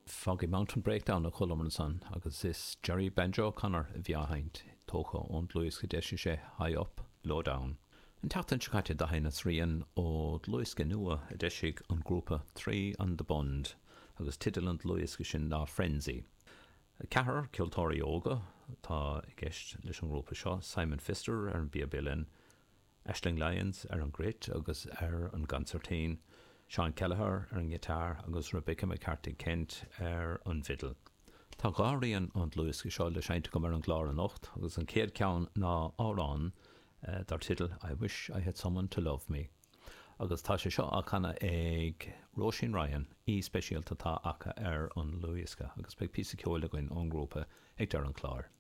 Foggy Mountain Breakdown a chualamar ansan agus is Jerry Banjo O'Connor a bhí á sheinnt, tógtha ón dlúthdhiosca a d'eisigh sé High Up, Low Down. An tseachtain seo caite do sheinneas rian ó dhlúthdhiosca nua a d'eisigh an grúpa Three on the Bund agus teideal an dlúthdhiosca sin ná Frenzy. Ceathrar ceoltóirí óga atá i gceist leis an ngrúpa seo, Simon Pfister ar an bpíob uilleann, Aisling Lyons ar an gcruit agus ar an gconsairtín, Seán Kelleher ar an ngiotár agus Rebecca McCarthy Kent ar an bhfidil. Tá dhá rian ón dlúthdhiosca seo le seinnt agam ar an gclár anocht agus an chéad cheann ná amhrán dar teideal I Wish I Had Someone To Love Me agus tá sé seo á chanadh ag Róisín Ryan, aoi speisialta atá acu ar an dlúthdhiosca agus beidh píosa ceoil againn ón ngrúpa ag deireadh an chláir.